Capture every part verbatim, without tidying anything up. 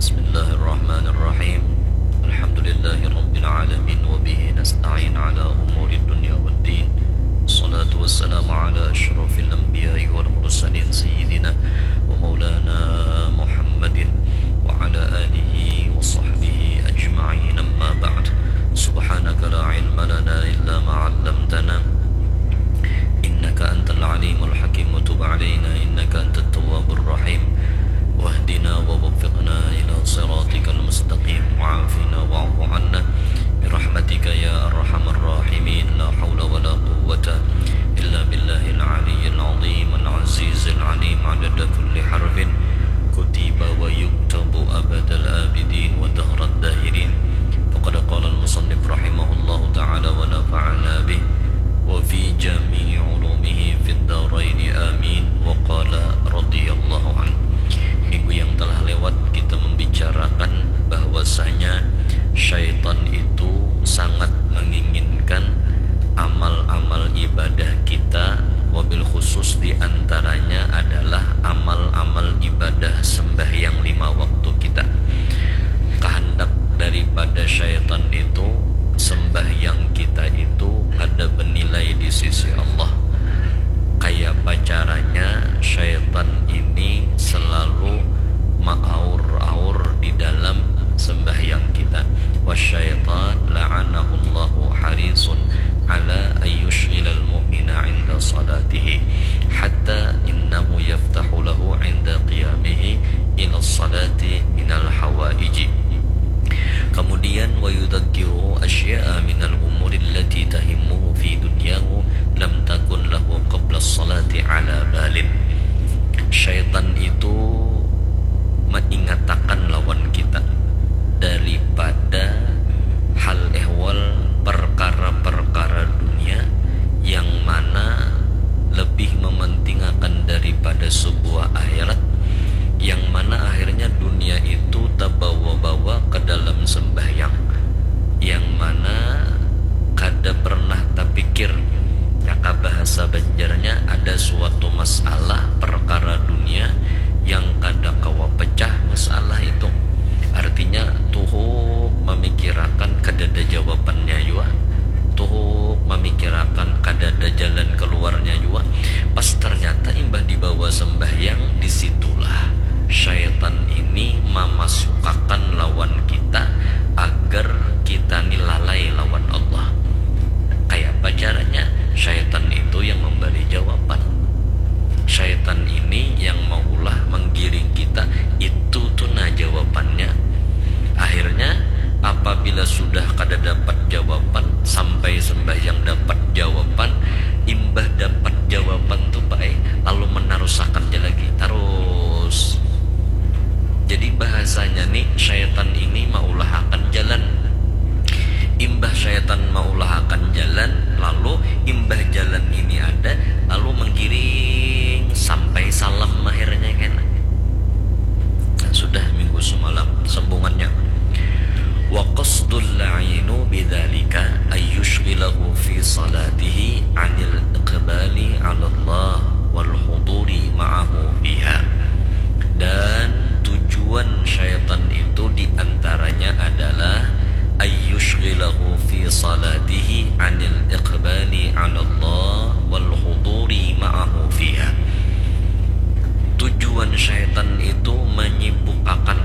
بسم الله الرحمن الرحيم. الحمد لله رب العالمين، وبه نستعين على أمور الدنيا والدين. الصلاة والسلام على أشرف الأنبياء والمرسلين، سيدنا ومولانا محمد وعلى آله وصحبه أجمعين. أما بعد، سبحانك لا علم لنا إلا ما علمتنا، إنك أنت العليم الحكيم، وتب علينا إنك أنت التواب الرحيم، واهدنا ووفقنا إلى صراطك المستقيم، وعافنا واعف عنا برحمتك يا أرحم الراحمين. لا حول ولا قوة إلا بالله العلي العظيم العزيز العليم، عدد كل حرف كتب ويكتب أبد الآبدين ودهر الداهرين. فقد قال المصنف رحمه الله تعالى ونفعنا به وفي جميع علومه في الدارين آمين. وقال رضي الله عنه. Minggu yang telah lewat kita membicarakan bahwasanya syaitan itu sangat menginginkan amal-amal ibadah kita, wabil khusus di antaranya adalah amal-amal ibadah sembahyang lima waktu kita. Kehendak daripada syaitan itu, sembahyang kita itu kada bernilai di sisi Allah. Kayapa caranya syaitan ini selalu maaur-aur di dalam sembahyang kita? Wasyaitan la'anahullahu harisun ala ayyushghilal mu'mina inda salatihi, hatta innahu yaftahu lahu inda qiyamihi ila salati minal hawaiji. Kemudian, wa yudzakiru asya'a minal umuri allati tahimmuhu fi dunyahu lam takun lahu qabla salati ala balin. Syaitan itu mengingatakan lawan kita daripada hal ehwal perkara-perkara dunia yang mana lebih mementingakan daripada sebuah akhirat, yang mana akhirnya dunia itu tabawa-bawa ke dalam sembahyang, yang mana kada pernah tapikir, jaka bahasa Banjarnya ada suatu masalah perkara dunia yang kada kawa pecah masalah itu. Artinya, tuhuk mamikirakan kadada jawabannya jua, tuhuk mamikirakan kadada jalan keluarnya jua. Pas ternyata imbah dibawa sembahyang, di situlah syaitan ini mamasukakan lawan kita agar kita ni lalai lawan Allah. Kayapa caranya? Syaitan itu yang memberi jawaban. Syaitan ini yang maulah menggiring kita, itu tu nah jawabannya. Akhirnya, apabila sudah kada dapat jawaban, sampai sembahyang dapat jawaban, imbah dapat jawaban tu, Pak, eh, lalu menarusakan ja lagi, tarus. Jadi, bahasanya ni, syaitan ini maulahakan jalan. Imbah syaitan maulahakan jalan, lalu imbah jalan ini ada, lalu menggiring sampai salam akhirnya, kena. Nah, sudah minggu semalam sambungannya. Wa qasdul la'inu bidzalika ayyushghilahu fi salatihi anil iqbali 'ala Allah wal huduri ma'ahu fiha. Dan tujuan syaitan itu diantaranya adalah ayyushghilahu fi salatihi anil iqbali 'ala Allah wal huduri ma'ahu fiha. Tujuan syaitan itu menyibukkan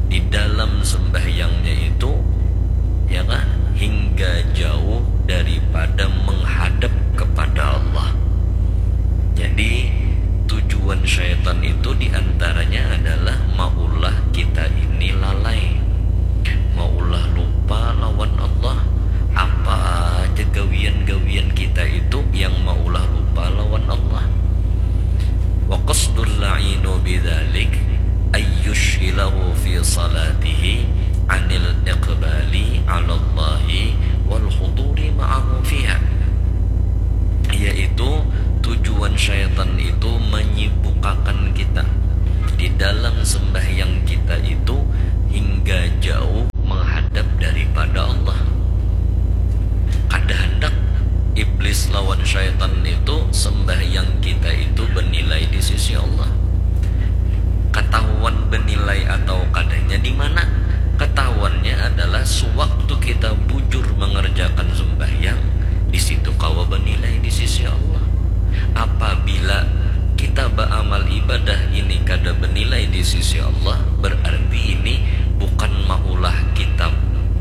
di dalam sembahyangnya itu, ya kah, hingga jauh daripada menghadap kepada Allah. Jadi, tujuan syaitan itu diantaranya adalah maulah kita ini lalai, maulah lupa lawan Allah. Apa aja gawian-gawian kita itu yang maulah lupa lawan Allah. Wa qasdul la'inu bidzalik ayyushghilahu fi salatihi anil iqbali 'ala Allahi wal huduri ma'ahu fiha. Yaitu tujuan syaitan itu menyibukkan kita di dalam sembahyang kita itu hingga jauh menghadap daripada Allah. Kada handak iblis lawan syaitan itu sembahyang kita itu bernilai di sisi Allah. Katahuan bernilai atau sisi Allah, berarti ini bukan maulah kita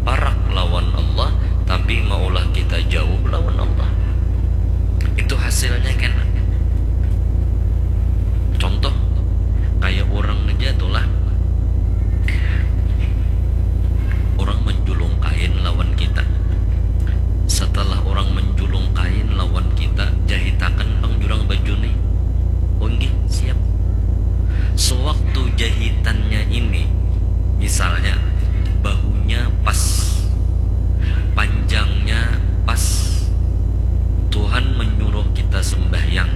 parak lawan Allah, tapi maulah kita jauh lawan Allah. Itu hasilnya kena. Contoh, kayak orang aja tuh lah. Orang menjulung kain lawan kita. Setelah orang menjulung kain lawan kita, jahitakan pang jurang baju nih. Oh, nggih, siap. Sewaktu jahitannya ini, misalnya, bahunya pas, panjangnya pas, Tuhan menyuruh kita sembahyang.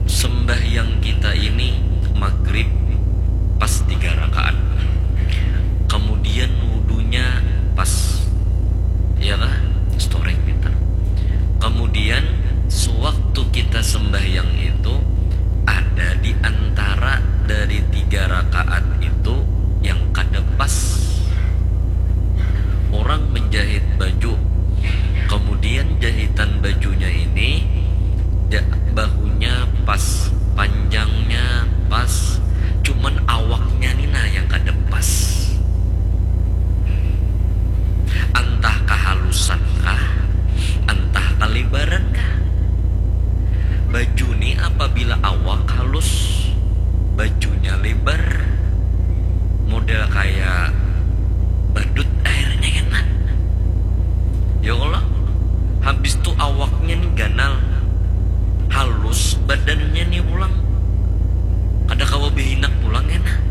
Sembahyang kita ini maghrib pas tiga rakaat. Kemudian wudhunya pas. Ya kah? Storing pintar. Kemudian sewaktu kita sembahyang itu, ada di antara dari tiga rakaat itu yang kada pas. Orang menjahit baju, kemudian jahitan bajunya ini, ja-, bahunya pas, panjangnya pas, cuman awaknya ni nah yang kada pas. Antah kahalusan kah, antah kalebaran kah. Baju ni apabila awak halus, bajunya lebar, model kaya badut akhirnya kena. Ya Allah, habis tu awaknya ni ganal, halus badannya ni pulang, kada kawa behinak pulang kena.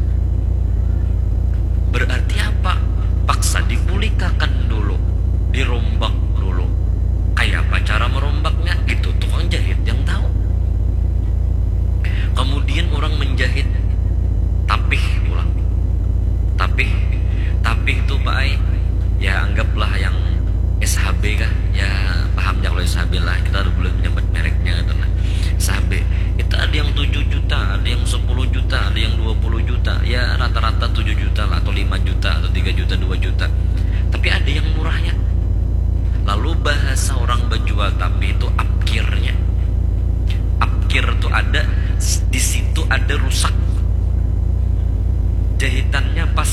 Berarti apa? Paksa dibulikakan dulu, dirombak dulu. Kayapa cara merombaknya? Itu tukang jahit yang tahu. Kemudian orang menjahit tapih pulang. Tapih, tapih tu, Pak ai, ya, anggaplah yang S H B kah? Ya, paham ja kalau S H B lah. Kita ada boleh menyebut mereknya gitu lah. S H B. Itu ada yang tujuh juta, ada yang sepuluh juta, ada yang dua puluh juta. Ya, rata-rata tujuh juta lah, atau lima juta, atau tiga juta, dua juta. Tapi ada yang murahnya. Lalu bahasa orang bejual tapi itu apkirnya. Apkir tu ada, di situ ada rusak. Jahitannya pas,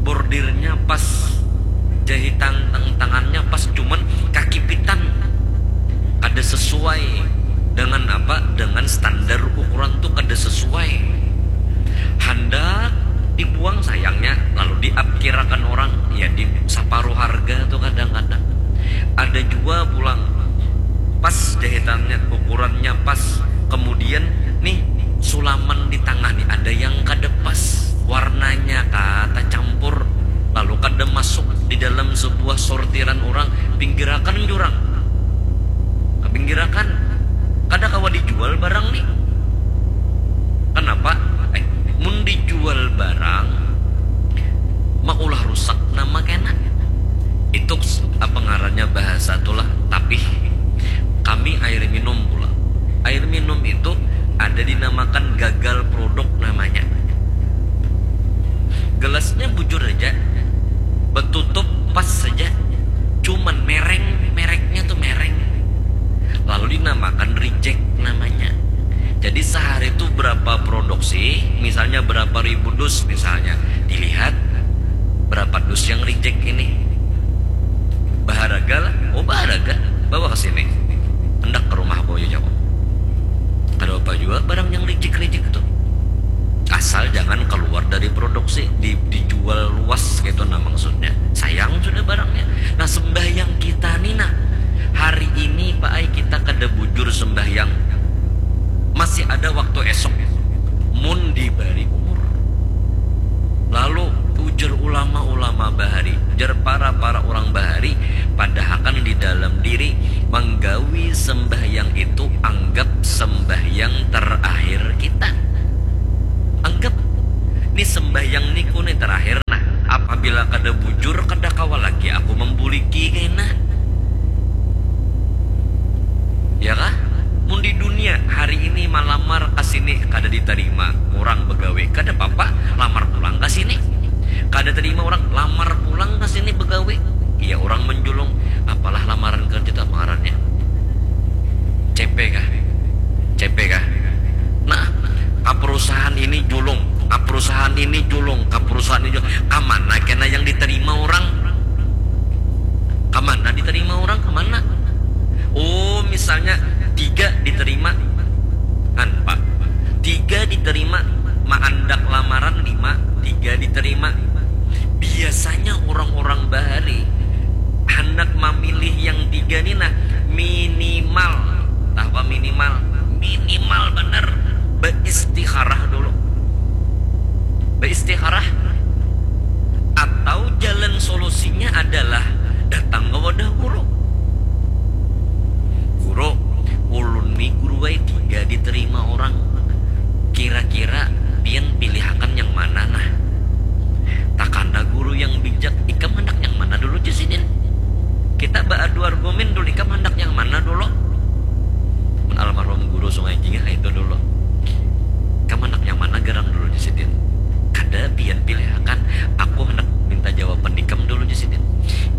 bordirnya pas, jahitan tang-, tangannya pas, cuman kakipitan. Kada sesuai dengan apa, dengan standar ukuran tu kada sesuai. Handak dibuang sayangnya, lalu diapkirakan orang, ya, di saparuh harga tu kadang-kadang. Ada jua pulang, pas jahitannya, ukurannya pas, kemudian nih, sulaman di tangah nih ada yang kada pas, warnanya kah tacampur, lalu kada masuk di dalam sebuah sortiran orang, pinggirakan jurang. Kapinggirakan, kada kawa dijual barang nih. Kenapa? Eh, mun dijual barang, maulah rusak nama kena. Itu s-, apa ngarannya bahasa tulah, tapih. Kami air minum pula. Air minum itu ada dinamakan gagal produk namanya. Gelasnya bujur aja, betutup pas saja, cuman mereng, mereknya tuh mereng. Lalu dinamakan reject namanya. Jadi sehari itu berapa produksi, misalnya berapa ribu dus misalnya, dilihat berapa dus yang reject ini. Baharaga lah, oh, baharaga, bawa ke sini. Hendak ke rumah aku aja, jago. Kada apa juga barang yang reject-reject itu. Asal jangan keluar dari produksi, di-, dijual luas gitu nah maksudnya. Sayang sudah barangnya. Nah, sembahyang kita nih nah, hari ini, Pak ai, kita kada bujur sembahyang. Masih ada waktu esok. Mun dibari umur. Lalu ujar ulama-ulama bahari, ujar para-para orang bahari, padahakan di dalam diri, manggawi sembahyang itu anggap sembahyang terakhir kita. Anggap, ni sembahyang niku ni terakhir nah. Apabila kada bujur, kada kawa lagi aku membuliki kena. Ya kah? Mun di dunia hari ini malamar ke sini kada diterima, orang begawe, kada apa-apa, lamar pulang ke sini. Kada terima orang, lamar pulang ke sini begawe. Iya, orang menjulung, apalah lamaran kerja tak ngarannya? C P kah? C P kah? Nah, ke perusahaan ini julung, ka perusahaan ini julung. Kamana kena yang diterima orang? Kamana diterima orang? Kamana? Oh, misalnya tiga diterima, kan, Pak? Tiga diterima, maandak lamaran lima, tiga diterima. Biasanya orang-orang bahari hendak memilih yang tiga nih, nah, minimal, tah apa minimal? Minimal bener, beistikharah dulu. Beistikharah. Atau jalan solusinya adalah datang ke wadah guru. Guru, ulun nih guru wae tiga diterima orang. Kira-kira pian pilihakan yang mana nah? Takana guru yang bijak, ikam hendak yang mana dulu, jar sidin. Kita beradu argumen dulu, ikam hendak yang mana dulu? Mun almarhum guru Sungai Jingah itu dulu. Ikam hendak yang mana garang dulu, jar sidin. Kada pian pilihakan, aku hendak minta jawaban ikam dulu, jar sidin.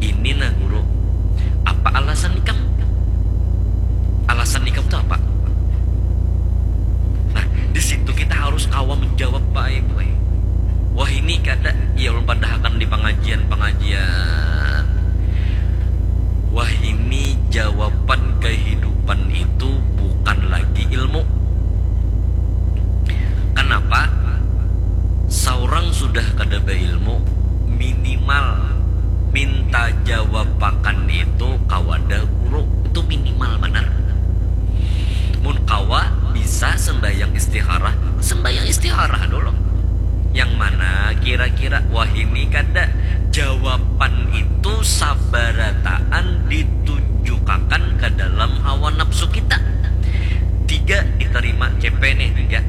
Ini nah guru, apa alasan ikam? Alasan ikam tuh apa? Nah, di situ kita harus kawa menjawab, Pak Ibu. Wah, ini kada, ya, ulun padahakan di pengajian-pengajian. Wah, ini jawaban kehidupan itu bukan lagi ilmu. Kenapa? Seorang sudah kada beilmu, minimal minta jawabakan itu kawadah guru. Itu minimal benar. Mun kawa bisa sembahyang istikharah, sembahyang istikharah dulu. Yang mana kira-kira? Wah, ini kada. Jawaban itu sabarataan ditunjukakan ke dalam hawa nafsu kita. Tiga diterima, C P nih, tiga.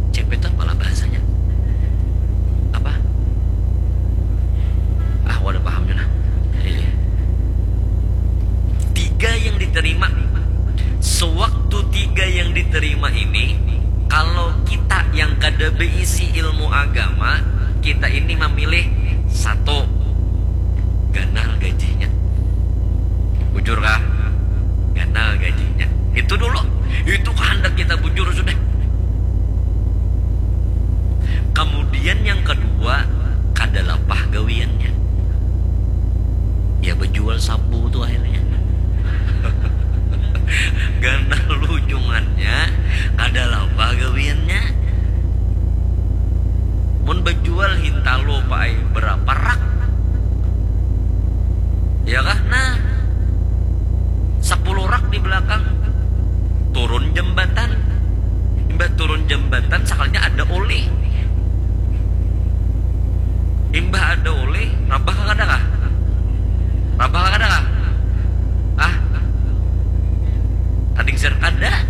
C P itu apalah bahasanya? Apa? Ah, wadah pahamnya nah. Iya. Tiga yang diterima. Sewaktu tiga yang diterima ini, kalau kita yang kada berisi ilmu agama, kita ini memilih satu, ganal gajinya. Bujur kah? Ganal gajinya. Itu dulu. Itu kehendak kita, bujur sudah. Kemudian yang kedua, kada lapah gawiannya. Ya, bejual sabu tuh akhirnya. Ganal ujungannya, kada lapah gawiannya. Mun bejual hintalu, Pak ai, berapa rak? Ya kah? Nah, sepuluh rak di belakang. Turun jembatan. Imbah turun jembatan, sakalinya ada oleh. Imbah ada oleh, rabah kah kada kah? Rabah kah kada kah? Ah, tading sir kada.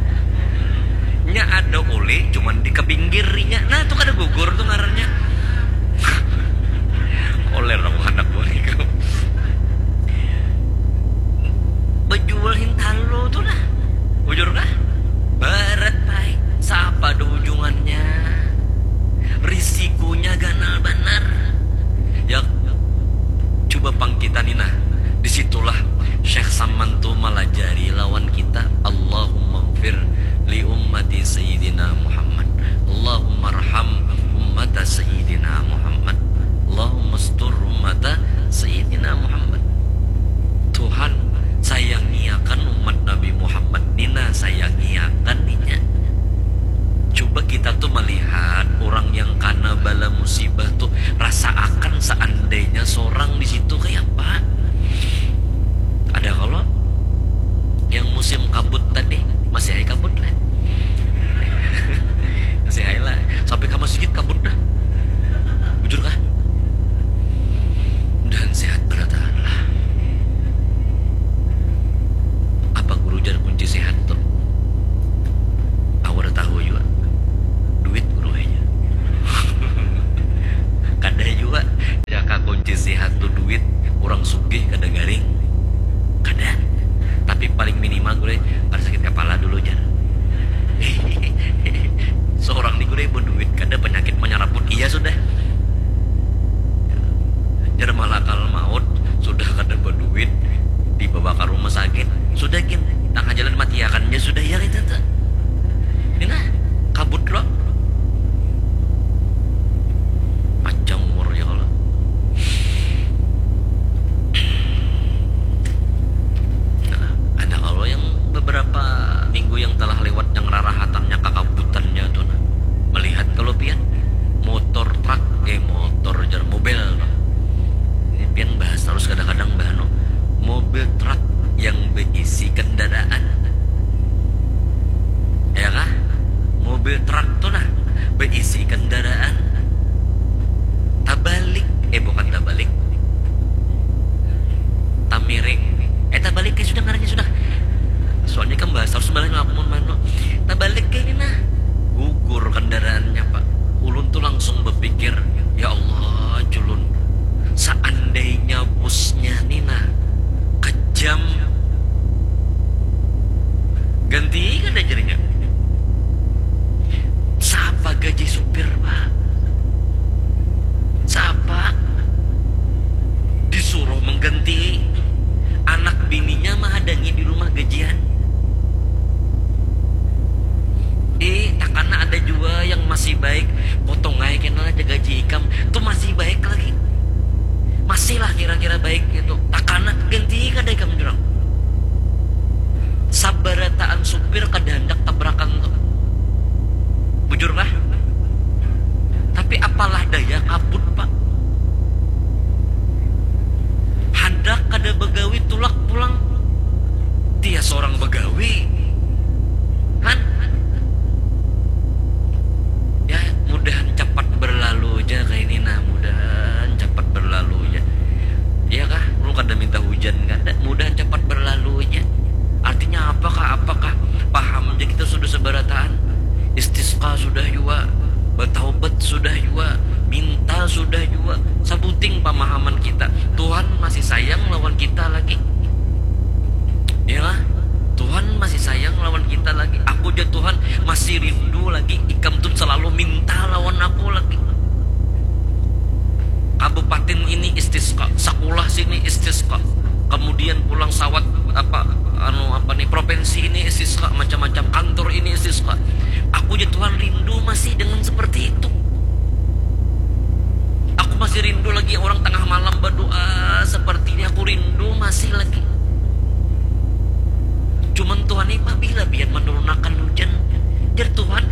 Nya ada oleh, cuman di Tapi apalah daya kabut, Pak. Handak kada bagawi, tulak pulang. Tias orang bagawi. Han. Ya, mudahan cepat berlalu aja kayak ini, nah, mudahan cepat berlalu aja. Iya kah? Lu kada minta hujan, kada? Mudahan cepat berlalu aja. Artinya apakah? Apakah paham aja kita sudah seberataan? Istisqa sudah juga, bertaubat sudah juga, minta sudah juga. Sabuting pemahaman kita. Tuhan masih sayang lawan kita lagi. Ya lah, Tuhan masih sayang lawan kita lagi. Aku aja Tuhan masih rindu lagi. Ikam tuh selalu minta lawan aku lagi. Kabupaten ini istisqa, sekolah sini istisqa, kemudian pulang sawat apa, anu apa nih, provinsi ini istisqa, macam-macam kantor ini istisqa. Aku aja Tuhan rindu masih dengan seperti itu. Aku masih rindu lagi orang tengah malam berdoa seperti ini. Aku rindu masih lagi. Cuman Tuhan ini pabila biar menurunakan hujan? Jar Tuhan,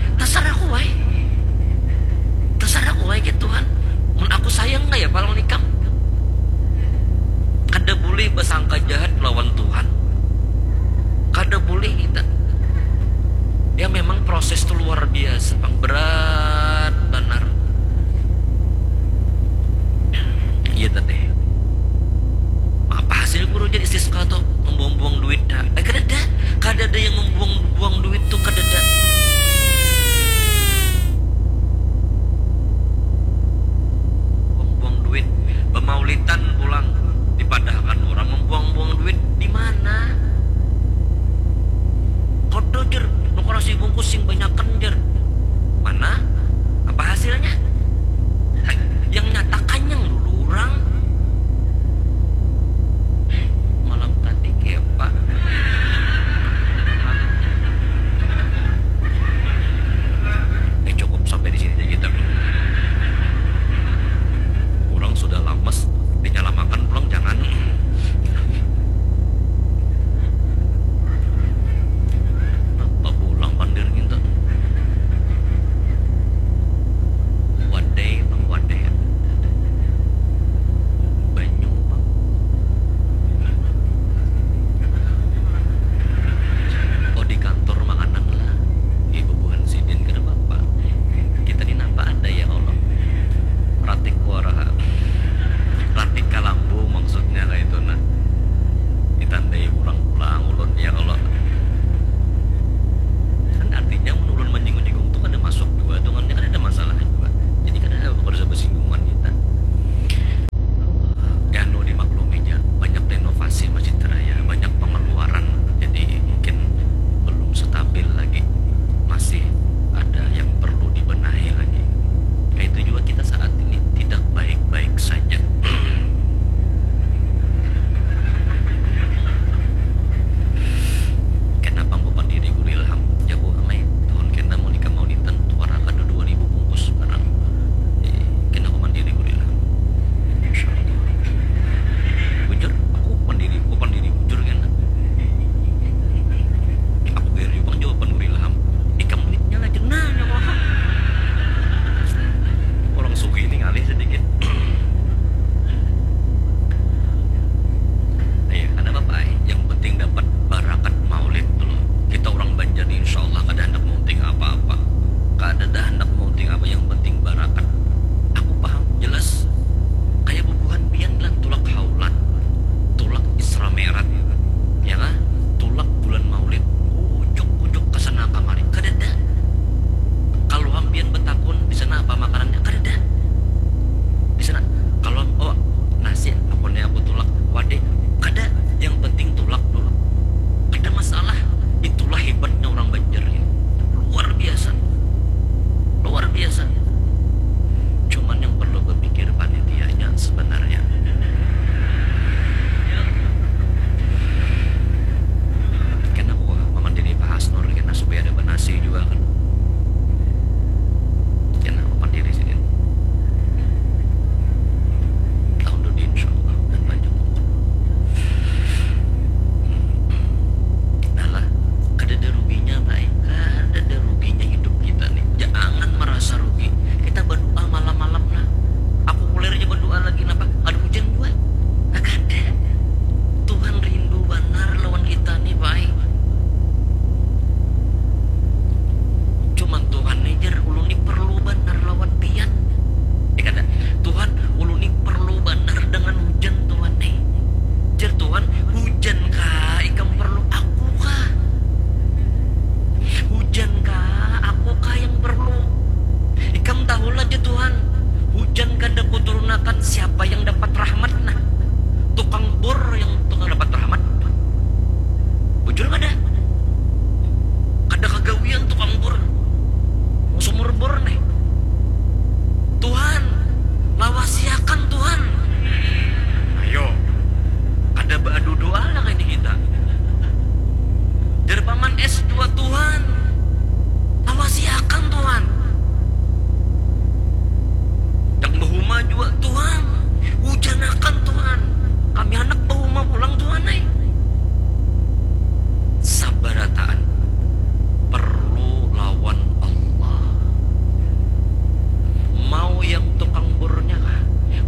siapa yang dapat rahmat nah? Tukang bor yang tukang dapat rahmat. Bujur kada? Kada kagawian tukang bor. Sumur bor nih. Tuhan, lawasiakan Tuhan. Ayo. Kada baadu doa lah ini kita. Jar paman S dua Tuhan. Lawasiakan Tuhan. Yang bahuma juga Tuhan. Hujanakan Tuhan. Kami anak bahuma pulang Tuhan ai. Sabarataan perlu lawan Allah. Mau yang tukang burnya kah?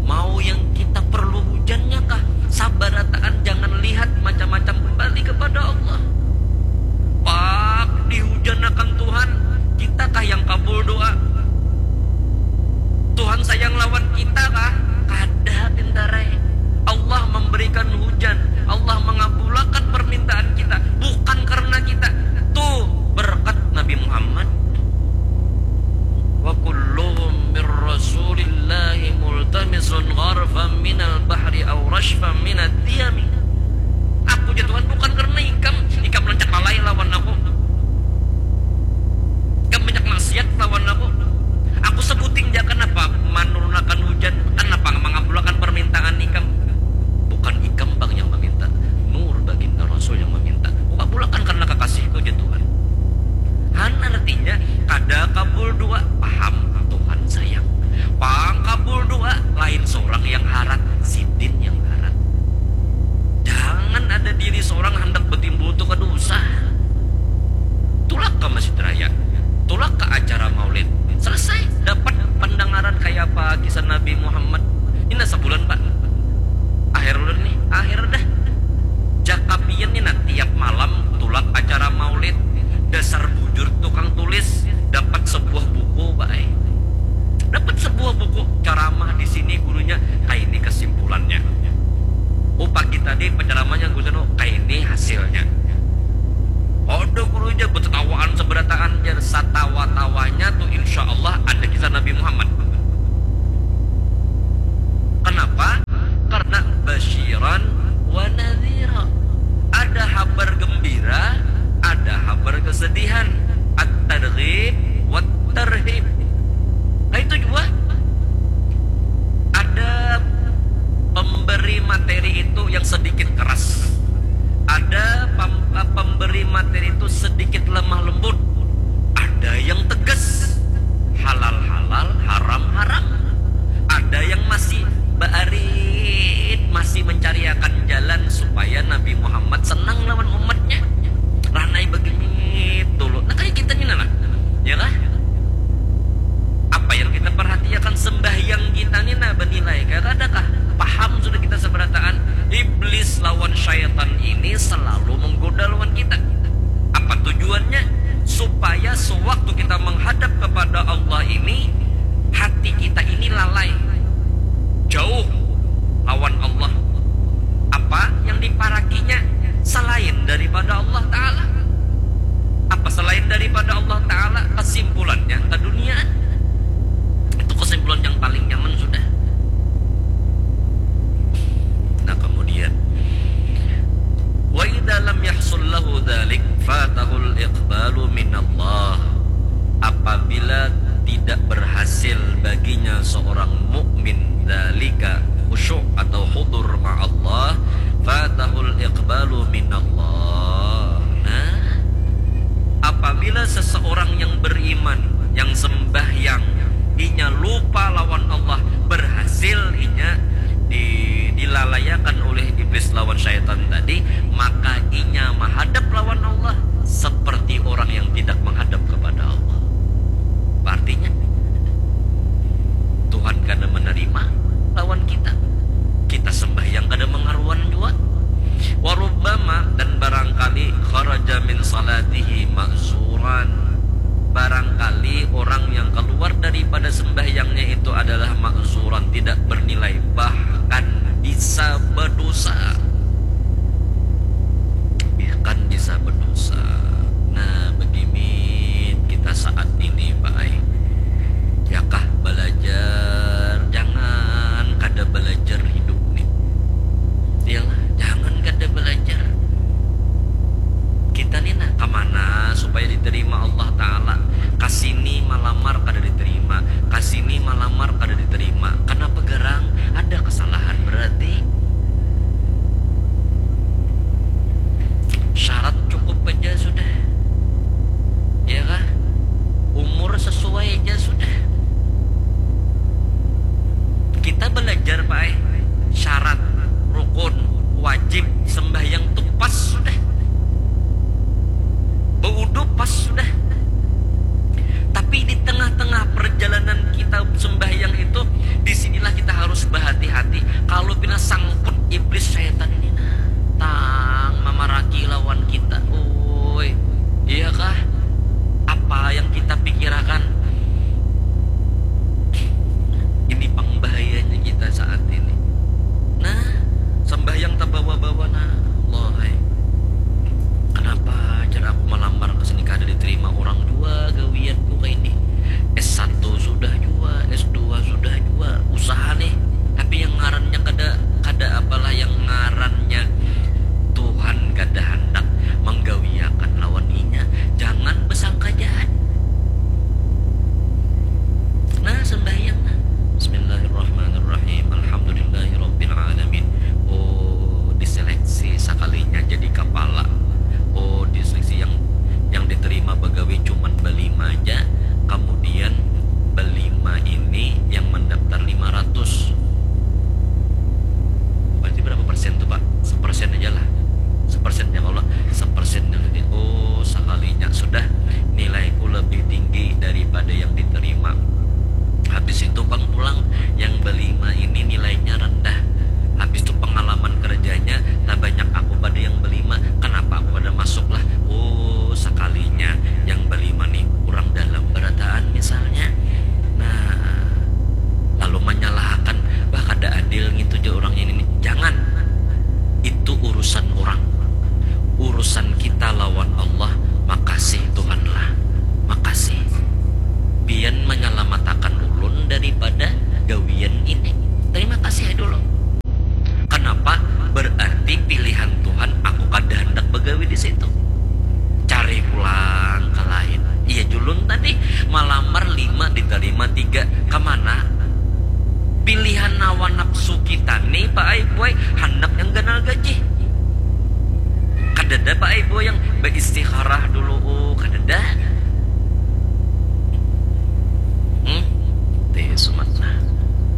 Mau yang kita perlu hujannya kah? Sabarataan jangan lihat macam-macam, kembali kepada Allah. Pak, dihujanakan Tuhan, kita kah yang kabul doa? Tuhan sayang lawan kita kah? Kada, pintarai. Allah memberikan hujan, Allah mengabulakan permintaan kita, bukan karena kita. Tuh berkat Nabi Muhammad. Wa kulluhum min Rasulillahi multamisun gharfan minal bahri aw rashfan minad diyami. Aku ja Tuhan bukan karena ikam, ikam rancak lalai lawan aku. Ikam banyak maksiat lawan aku. Aku sebuting ja, kenapa manurunakan hujan, kenapa mangabulakan permintaan ikam? Bukan ikam pang yang meminta, Nur Baginda Rasul yang meminta. Kukabulakan karena kekasihku ja Tuhan. Han artinya kada kabul doa, paham Tuhan sayang. Pang kabul doa, lain seorang yang harat, sidin yang harat. Jangan ada diri seorang handak betimbul tu kada usah. Tulak ka Masjid Raya, tulak ka acara maulid, selesai, dapat pendengaran kaya apa kisah Nabi Muhammad. Ini sebulan, Pak. Akhir ulun nih, akhir dah. Jaka pian ni nah tiap malam tulak acara maulid, dasar bujur tukang tulis, dapat sebuah buku bae. Dapat sebuah buku ceramah di sini gurunya, kaini kesimpulannya. Oh, pagi tadi penceramahnya gurunya, oh, kaini hasilnya. Ada gurunya betetawaan seberataan, jar, satawa-tawanya tuh insya Allah ada kisah Nabi Muhammad. Kenapa? Karena basyiran wa nadhira. Ada habar gembira, ada habar kesedihan. At-targhib wa tarhib. Nah, itu juga ada pemberi materi itu yang sedikit keras. Ada pem- eh, pemberi materi itu sedikit lemah lembut. Ada yang tegas. Halal halal, haram haram. Ada yang masih baarit, masih mencariakan jalan supaya Nabi Muhammad senang lawan umatnya. Ranai begini dulu. Nah, kayak kita ni nah. Ya kah? Apa yang kita perhatiakan, sembahyang kita ni nah benilai kah? Kadakah? Paham sudah kita seberataan. Iblis lawan syaitan ini selalu menggoda lawan kita. Apa tujuannya? Supaya sewaktu kita menghadap kepada Allah ini, hati kita ini lalai, jauh lawan Allah. Apa yang diparakinya selain daripada Allah Ta'ala? Apa selain daripada Allah Ta'ala? Kesimpulannya, keduniaan. Itu kesimpulan yang paling nyaman sudah. Nah, kemudian, wa idza lam yahsul lahu dzalik fatahul iqbalu minallah. Apabila tidak berhasil baginya seorang mukmin dzalika, khusyuk atau hudur ma'allah, fatahul iqbalu minallah. Nah, apabila seseorang yang beriman, yang sembahyang, inya lupa lawan Allah, berhasil inya di, dilalayakan oleh iblis lawan syaitan tadi, maka inya menghadap lawan Allah seperti orang yang tidak menghadap kepada Allah. Apa artinya? Tuhan kada menerima lawan kita. Kita sembahyang kada mengaruan jua. Warubbama, dan barangkali, kharaja min salatihi ma'zuran. Barangkali orang yang keluar daripada sembahyangnya itu adalah ma'zuran, tidak bernilai, bahkan bisa berdosa.